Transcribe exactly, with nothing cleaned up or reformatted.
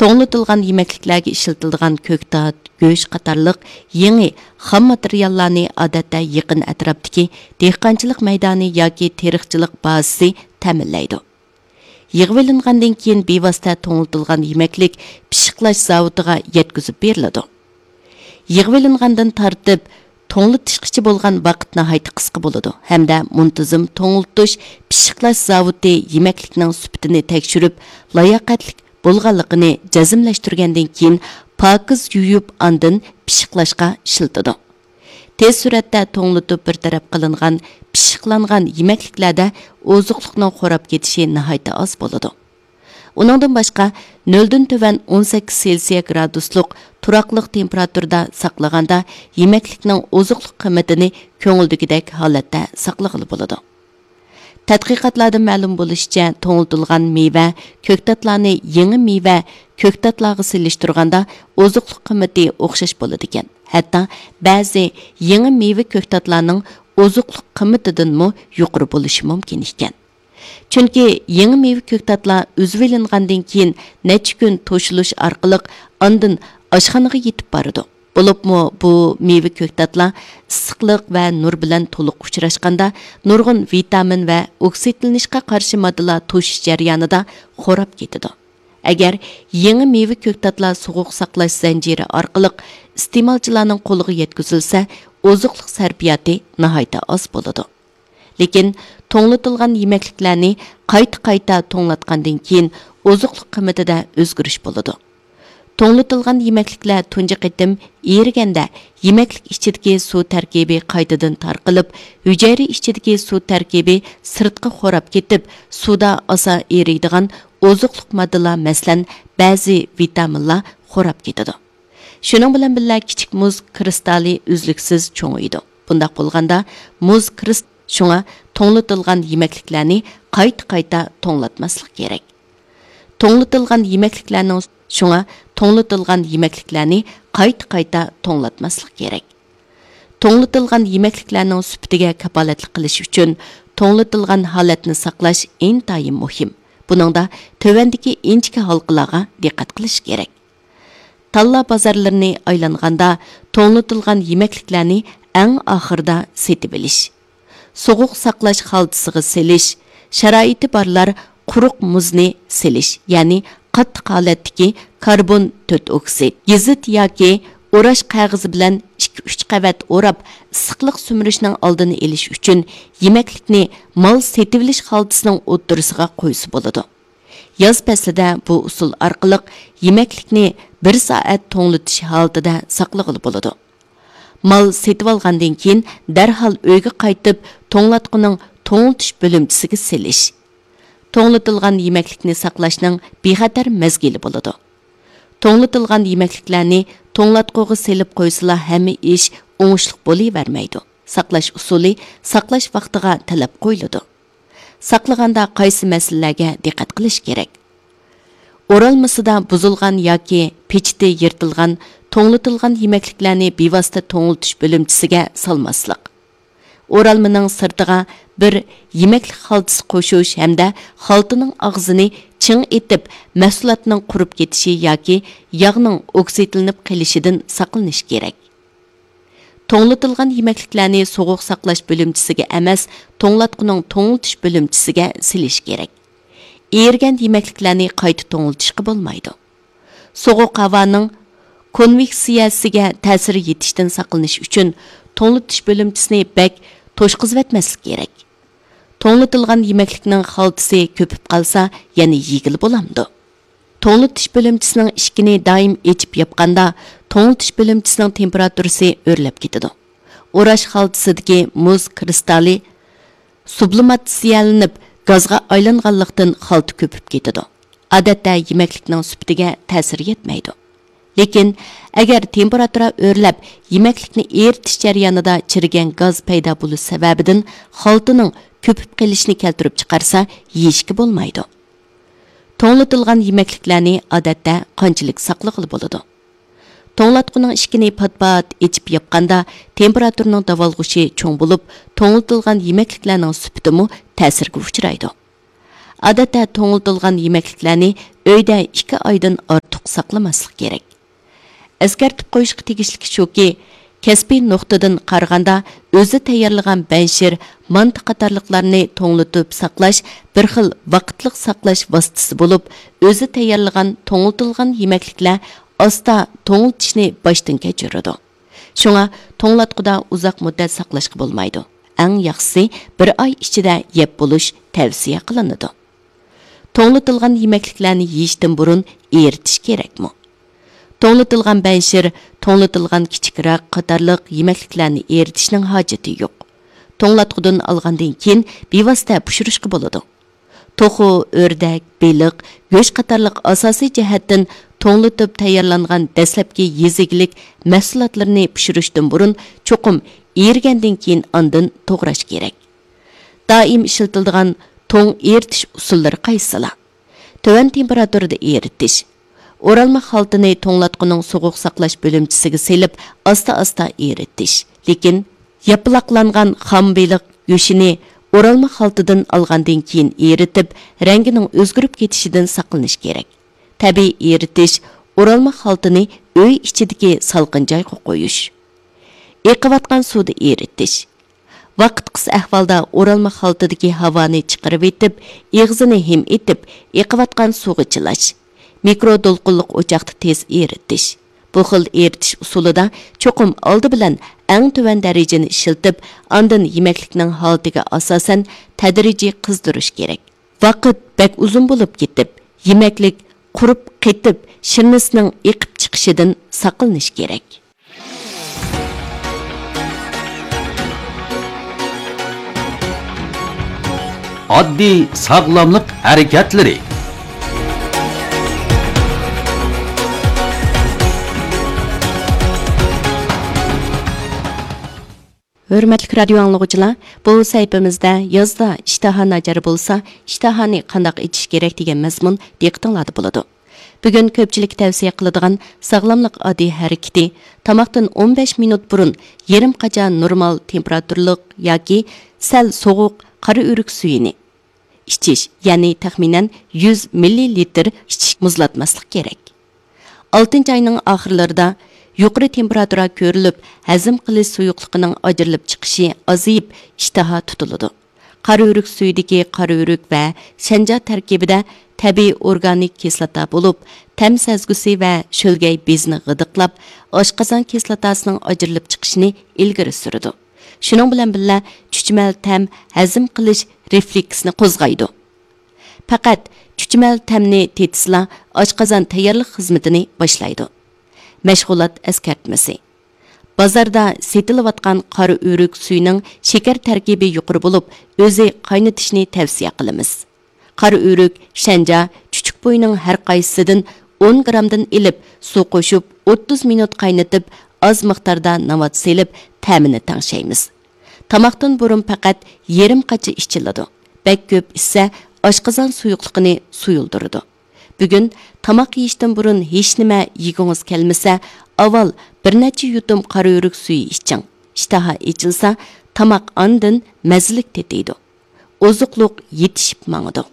توڭلىتىلغان يېمەكلىكلەرگە ئىشلىتىلىدىغان كۆكتات، گۆش قاتارلىق يېڭى خام ماتېرىياللارنى ئادەتتە يېقىن ئەتراپتىكى دېھقانچىلىق مەيدانى ياكى تېرىقچىلىق بازىسى تەمىنلەيدۇ. يىغىۋېلىنغاندىن كېيىن بىۋاسىتە توڭلىتىلغان يېمەكلىك پىششىقلاش زاۋۇتىغا يەتكۈزۈپ بېرىلىدۇ. يىغىۋېلىنغاندىن تارتىپ توڭلىتىشقىچە بولغان ۋاقىت ناھايىتى قىسقا بولىدۇ ھەمدە مۇنتىزىم توڭلىتىش، پىششىقلاش زاۋۇتى يېمەكلىكنىڭ سۈپىتىنى تەكشۈرۈپ، لاياقەتلىك بولغانلىقىنى جەزملەشتۈرگەندىن كېيىن، پاكىز يۇيۇپ، ئاندىن پىششىقلاشقا ئىشلىتىدۇ. تېز سۈرئەتتە توڭلىتىپ بىر تەرەپ قىلىنغان پىششىقلانغان يېمەكلىكلەردە ئوزۇقلۇقنىڭ خوراپ كېتىشى ناھايىتى ئاز بولىدۇ. ئۇنىڭدىن باشقا، نۆلدىن تۆۋەن ئون سەككىز سېلسىيە گرادۇسلۇق تۇراقلىق تېمپېراتۇرىدا ساقلىغاندا، يېمەكلىكنىڭ ئوزۇقلۇق قىممىتىنى كۆڭۈلدىكىدەك ھالەتتە ساقلىغىلى بولىدۇ. تەتقىقاتلاردىن مەلۇم بولۇشىچە، توڭلىتىلغان مېۋە، كۆكتاتلارنى يېڭى مېۋە، كۆكتاتلارغا سېلىشتۇرغاندا ئوزۇقلۇق قىممىتى ئوخشاش بولىدىكەن. ھەتتا بەزى يېڭى مېۋە كۆكتاتلارنىڭ ئوزۇقلۇق قىممىتىدىنمۇ يۇقىرى بولۇشى مۇمكىن ئىكەن. چۈنكى يېڭى مېۋە كۆكتاتلار ئۈزۈۋېلىنغاندىن كېيىن نەچچە كۈن توشۇلۇش ئارقىلىق ئاندىن ئاشخانىغا يېتىپ بارىدۇ. بولۇپمۇ بۇ مېۋە كۆكتاتلار ئىسسىقلىق ۋە نۇر بىلەن تولۇق ئۇچراشقاندا، نۇرغۇن ۋىتامىن ۋە ئوكسىدلىنىشقا قارشى ماددىلار توشۇش جەريانىدا خوراپ كېتىدۇ. ئەگەر يېڭى مېۋە كۆكتاتلار سوغۇق ساقلاش زەنجىرى ئارقىلىق ئىستېمالچىلارنىڭ قولىغا يەتكۈزۈلسە، ئوزۇقلۇق سەرپىياتى ناھايىتى ئاز بولىدۇ. لېكىن توڭلىتىلغان يېمەكلىكلەرنى قايتا-قايتا توڭلاتقاندىن كېيىن ئوزۇقلۇق قىممىتىدە ئۆزگىرىش بولىدۇ. توڭلىتىلغان يېمەكلىكلەر تۇنجى قېتىم ئېرىگەندە، يېمەكلىك ئىچىدىكى سۇ تەركىبى قايتىدىن تارقىلىپ، ھۈجەيرە ئىچىدىكى سۇ تەركىبى سىرتقا خوراپ كېتىپ، سۇدا ئاسان ئېرىيدىغان ئوزۇقلۇق ماددىلار، مەسىلەن، بەزى ۋىتامىنلار خوراپ كېتىدۇ. شۇنىڭ بىلەن بىللە، كىچىك مۇز كرىستالى ئۈزلۈكسىز چوڭىيىدۇ. بۇنداق بولغاندا، مۇز كرىست-، شۇڭا توڭلىتىلغان يېمەكلىكلەرنى قايتا-قايتا توڭلاتماسلىق كېرەك. توڭلىتىلغان يېمەكلىكلەرنىڭ، شۇڭا توڭلىتىلغان يېمەكلىكلەرنى قايتا-قايتا توڭلاتماسلىق كېرەك. توڭلىتىلغان يېمەكلىكلەرنىڭ سۈپىتىگە كاپالەتلىك قىلىش ئۈچۈن، توڭلىتىلغان ھالەتنى ساقلاش ئىنتايىن مۇھىم. بۇنىڭدا تۆۋەندىكى ئىنچىكە ھالقىلارغا دىققەت قىلىش كېرەك. تاللا بازارلىرىنى ئايلانغاندا، توڭلىتىلغان يېمەكلىكلەرنى ئەڭ ئاخىرىدا سېتىۋېلىش. سوغۇق ساقلاش خالتىسىغا سېلىش، شارائىتى بارلار قۇرۇق مۇزنى سېلىش، يەنى قاتتىق ھالەتتىكى كاربون تۆت ئوكسىد، گېزىت ياكى ئوراش قەغىزى بىلەن ئىككى ئۈچ قەۋەت ئوراپ، ئىسسىقلىق سۈمۈرۈشنىڭ ئالدىنى ئېلىش ئۈچۈن يېمەكلىكنى مال سېتىۋېلىش خالتىسىنىڭ ئوتتۇرىسىغا قويسا بولىدۇ. ياز پەسلىدە بۇ ئۇسۇل ئارقىلىق يېمەكلىكنى بىر سائەت توڭلىتىش ھالىتىدە ساقلىغىلى بولىدۇ. مال سېتىۋالغاندىن كېيىن دەرھال ئۆيگە قايتىپ، توڭلاتقۇنىڭ توڭلىتىش بۆلۈمچىسىگە سېلىش. توڭلىتىلغان يېمەكلىكنى ساقلاشنىڭ بىخەتەر مەزگىلى بولىدۇ. توڭلىتىلغان يېمەكلىكلەرنى توڭلاتقۇغا سېلىپ قويسىلا، ھەممە ئىش ئوڭۇشلۇق بولۇۋەرمەيدۇ. ساقلاش ئۇسۇلى ساقلاش ۋاقتىغا تەلەپ قويۇلىدۇ. ساقلىغاندا قايسى مەسىلىلەرگە دىققەت قىلىش كېرەك؟ ئورالمىسىدا بۇزۇلغان ياكى پېچىتى يىرتىلغان، توڭلىتىلغان يېمەكلىكلەرنى بىۋاسىتە توڭلىتىش بۆلۈمچىسىگە سالماسلىق. ئورالمىنىڭ سىرتىغا بىر يېمەكلىك خالتىسى قوشۇش ھەمدە خالتىنىڭ ئاغزىنى چىڭ ئېتىپ، مەھسۇلاتنىڭ قۇرۇپ كېتىشى ياكى ياغنىڭ ئوكسىدلىنىپ قېلىشىدىن ساقلىنىش كېرەك. توڭلىتىلغان يېمەكلىكلەرنى سوغۇق ساقلاش بۆلۈمچىسىگە ئەمەس، توڭلاتقۇنىڭ توڭلىتىش بۆلۈمچىسىگە سېلىش كېرەك. ئېرىگەن يېمەكلىكلەرنى قايتا توڭلىتىشقا بولمايدۇ. سوغۇق ھاۋانىڭ كونۋېكسىيەسىگە تەسىر يېتىشتىن ساقلىنىش ئۈچۈن توڭلىتىش بۆلۈمچىسىنى بەك توشقۇزۇۋەتمەسلىك كېرەك. توڭلىتىلغان يېمەكلىكنىڭ خالتىسى كۆپۈپ قالسا، يەنە يېگىلى بولامدۇ؟ توڭلىتىش بۆلۈمچىسىنىڭ ئىشىكىنى دائىم ئېچىپ ياپقاندا، توڭلىتىش بۆلۈمچىسىنىڭ تېمپېراتۇرىسى ئۆرلەپ كېتىدۇ. ئوراش خالتىسىدىكى مۇز كرىستالى سۇبلىماتسىيەلىنىپ، گازغا ئايلانغانلىقتىن خالتا كۆپۈپ كېتىدۇ. ئادەتتە يېمەكلىكنىڭ سۈپىتىگە تەسىر يەتمەيدۇ. لېكىن، ئەگەر تېمپېراتۇرا ئۆرلەپ، يېمەكلىكنى ئېرىتىش جەريانىدا چىرىگەن گاز پەيدا بولۇش سەۋەبىدىن خالتىنىڭ كۆپۈپ قېلىشىنى كەلتۈرۈپ چىقارسا، يېيىشكە بولمايدۇ. توڭلىتىلغان يېمەكلىكلەرنى ئادەتتە قانچىلىك ساقلىغىلى بولىدۇ؟ توڭلاتقۇنىڭ ئىشىكىنى پات-پات ئېچىپ ياپقاندا، تېمپېراتۇرىنىڭ داۋالغۇشى چوڭ بولۇپ، توڭلىتىلغان يېمەكلىكلەرنىڭ سۈپىتىمۇ تەسىرگە ئۇچرايدۇ. ئادەتتە توڭلىتىلغان يېمەكلىكلەرنى ئۆيدە ئىككى ئايدىن ئارتۇق ساقلىماسلىق كېرەك. ئەسكەرتىپ قويۇشقا تېگىشلىكى شۇكى، كەسپىي نۇقتىدىن قارىغاندا، ئۆزى تەييارلىغان بەنشىر، مانتا قاتارلىقلارنى توڭلىتىپ ساقلاش بىر خىل ۋاقىتلىق ساقلاش ۋاسىتىسى بولۇپ، ئۆزى تەييارلىغان توڭلىتىلغان يېمەكلىكلەر ئاستا توڭلىتىشنى باشتىن كەچۈرىدۇ. شۇڭا توڭلاتقۇدا ئۇزاق مۇددەت ساقلاشقا بولمايدۇ. ئەڭ ياخشىسى بىر ئاي ئىچىدە يەپ بولۇش تەۋسىيە قىلىنىدۇ. توڭلىتىلغان يېمەكلىكلەرنى يېيىشتىن بۇرۇن ئېرىتىش كېرەكمۇ؟ توڭلىتىلغان بەنشىر، توڭلىتىلغان كىچىك راك قاتارلىق يېمەكلىكلەرنى ئېرىتىشنىڭ ھاجىتى يوق. توڭلاتقۇدىن ئالغاندىن كېيىن بىۋاسىتە پىشۇرۇشقا بولىدۇ. توخۇ، ئۆردەك، بېلىق، گۆش قاتارلىق ئاساسىي جەھەتتىن توڭلىتىپ تەييارلانغان دەسلەپكى يېزا ئىگىلىك مەھسۇلاتلىرىنى پىشۇرۇشتىن بۇرۇن چوقۇم ئېرىگەندىن كېيىن ئاندىن توغراش كېرەك. دائىم ئىشلىتىلىدىغان توڭ ئېرىتىش ئۇسۇللىرى قايسىلار؟ تۆۋەن تېمپېراتۇرىدا ئېرىتىش. ئورالما خالتىنى توڭلاتقۇنىڭ سوغۇق ساقلاش بۆلۈمچىسىگە سېلىپ، ئاستا-ئاستا ئېرىتىش. لېكىن ياپىلاقلانغان خام بېلىق گۆشىنى ئورالما خالتىدىن ئالغاندىن كېيىن ئېرىتىپ، رەڭگىنىڭ ئۆزگىرىپ كېتىشىدىن ساقلىنىش كېرەك. تەبىئىي ئېرىتىش، ئورالما خالتىنى ئۆي ئىچىدىكى سالقىن جايغا قويۇش. ئېقىۋاتقان سۇدا ئېرىتىش. ۋاقىت قىس ئەھۋالدا ئورالما خالتىدىكى ھاۋانى چىقىرىۋېتىپ، ئېغىزىنى ھىم ئېتىپ، ئېقىۋاتقان سۇغا چىلاش. مىكرو دولقۇنلۇق ئوچاقتا تېز ئېرىتىش. بۇ خىل ئېرىتىش ئۇسۇلىدا چوقۇم ئالدى بىلەن ئەڭ تۆۋەن دەرىجىنى ئىشلىتىپ، ئاندىن يېمەكلىكنىڭ ھالىتىگە ئاساسەن تەدرىجىي قىزدۇرۇش كېرەك. ۋاقىت بەك ئۇزۇن بولۇپ كېتىپ، يېمەكلىك قۇرۇپ قېتىپ، شىرنىسىنىڭ ئېقىپ چىقىشىدىن ساقلىنىش كېرەك. ئاددىي ساغلاملىق ھەرىكەتلىرى. ھۆرمەتلىك رادىيو ئاڭلىغۇچىلار، بۇ سەھىپىمىزدە يازدا ئىشتىھا ناچار بولسا، ئىشتىھانى قانداق ئېچىش كېرەك دېگەن مەزمۇن دىققىتىڭلاردا بولىدۇ. بۈگۈن كۆپچىلىككە تەۋسىيە قىلىدىغان ساغلاملىق ئاددىي ھەرىكىتى، تاماقتىن ئون بەش مىنۇت بۇرۇن يېرىم قاچا نورمال تېمپېراتۇرىلىق ياكى سەل سوغۇق قارا ئۆرۈك سۈيىنى ئىچىش، يەنى تەخمىنەن يۈز مىللىلىتىر ئىچىش مۇزلاتماسلىق كېرەك. ئالتىنچى ئاينىڭ ئاخىرلىرىدا يۇقىرى تېمپېراتۇرا كۆرۈلۈپ، ھەزىم قىلىش سۇيۇقلۇقىنىڭ ئاجرىلىپ چىقىشى ئازىيىپ، ئىشتىھا تۇتۇلىدۇ. قارا ئۆرۈك سۈيىدىكى قارا ئۆرۈك ۋە شەنجا تەركىبىدە تەبىئىي ئورگانىك كىسلاتا بولۇپ، تەم سەزگۈسى ۋە شۆلگەي بېزىنى غىدىقلاپ، ئاشقازان كىسلاتاسىنىڭ ئاجرىلىپ چىقىشىنى ئىلگىرى سۈرىدۇ. شۇنىڭ بىلەن بىللە، چۈچۈمەل تەم ھەزىم قىلىش رېفلېكسىنى قوزغايدۇ. پەقەت چۈچۈمەل تەمنى تېتىسىلا، ئاشقازان تەييارلىق خىزمىتىنى باشلايدۇ. مەشغۇلات ئەسكەرتمىسى. بازاردا سېتىلىۋاتقان قارا ئۆرۈك سۈيىنىڭ شېكەر تەركىبى يۇقىرى بولۇپ، ئۆزى قاينىتىشنى تەۋسىيە قىلىمىز. قارا ئۆرۈك، شەنجا، چۈچۈك پوينىڭ ھەر قايسىسىدىن ئون گرامدىن ئېلىپ، سۇ قوشۇپ، ئوتتۇز مىنۇت قاينىتىپ، ئاز مىقداردا ناۋات سېلىپ، تەمىنى تەڭشەيمىز. تاماقتىن بۇرۇن پەقەت يېرىم قاچا ئىچىلىدۇ. بەك كۆپ ئىچسە، ئاشقازان سۇيۇقلۇقىنى سۇيۇلدۇرىدۇ. بۈگۈن تاماق يېيىشتىن بۇرۇن ھېچنېمە يېگۈڭىز كەلمىسە، ئاۋۋال بىر نەچچە يۇتۇم قارا ئۆرۈك سۈيى ئىچىڭ. ئىشتىھا ئېچىلسا، تاماق ئاندىن مەززىلىك تېتىيدۇ. ئوزۇقلۇق يېتىشىپ ماڭىدۇ.